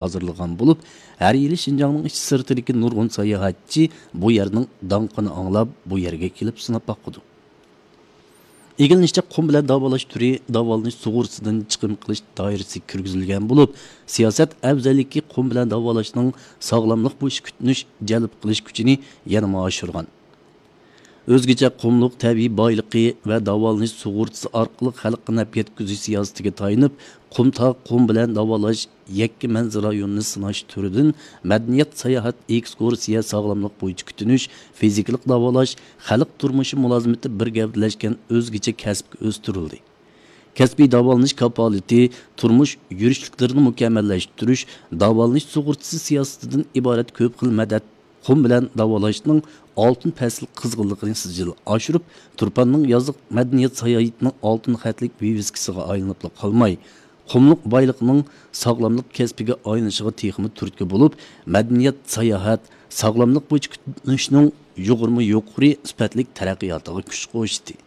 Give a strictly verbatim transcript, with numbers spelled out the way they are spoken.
ھازىرلىغان بولۇپ، ھەر يىلى شىنجاڭنىڭ ئىچى سىرتىدىكى نۇرغۇن ساياھەتچى بۇ يەرنىڭ داڭقىنى ئاڭلاپ، بۇ يەرگە كېلىپ سىناپ باقىدۇ. ئىگىلىنىشىچە، قۇم بىلەن داۋالاش تۈرى داۋالىنىش سۇغۇرتىسىدىن چىقىم قىلىش دائىرىسىگە كىرگۈزۈلگەن بولۇپ، سىياسەت ئەۋزەللىكى قۇم بىلەن داۋالاشنىڭ ساغلاملىق بويىچە كۈتۈنۈش جەلپ قىلىش كۈچىنى يەنىمۇ ئاشۇرغان. ئۆزگىچە قۇملۇق تەبىئىي بايلىقى ۋە داۋالىنىش سۇغۇرتىسى ئارقىلىق خەلققە نەپ يەتكۈزۈش سىياسىتىگە تايىنىپ، قۇمتاغ قۇم بىلەن داۋالاش يەككە مەنزىرە رايونىنى سىناش تۈرىدىن مەدەنىيەت، ساياھەت، ئېكسكۇرسىيە، ساغلاملىق بويىچە كۈتۈنۈش، فىزىكىلىق داۋالاش، خەلق تۇرمۇشى مۇلازىمىتى بىر گەۋدىلەشكەن ئۆزگىچە كەسىپكە ئۆستۈرۈلدى. كەسپىي داۋالىنىش كاپالىتى، تۇرمۇش يۈرۈشلۈكلىرىنى مۇكەممەللەشتۈرۈش، داۋالىنىش سۇغۇرتىسى سىياسىتىدىن ئىبارەت كۆپ خىل مەدەت قۇم بىلەن داۋالاشنىڭ ئالتۇن پەسىل قىزغىنلىقىنى سىجىل ئاشۇرۇپ، تۇرپاننىڭ يازلىق مەدەنىيەت ساياھىتىنىڭ ئالتۇن خەتلىك ۋىۋىسكىسىغا ئايلىنىپلا قالماي، قۇملۇق بايلىقنىڭ ساغلاملىق كەسپىگە ئايلىنىشىغا تېخىمۇ تۈرتكە بولۇپ، مەدەنىيەت، ساياھەت، ساغلاملىق بويىچە كۈتۈنۈشنىڭ يۇغۇرما يۇقىرى سۈپەتلىك تەرەققىياتىغا كۈچ قوشتى.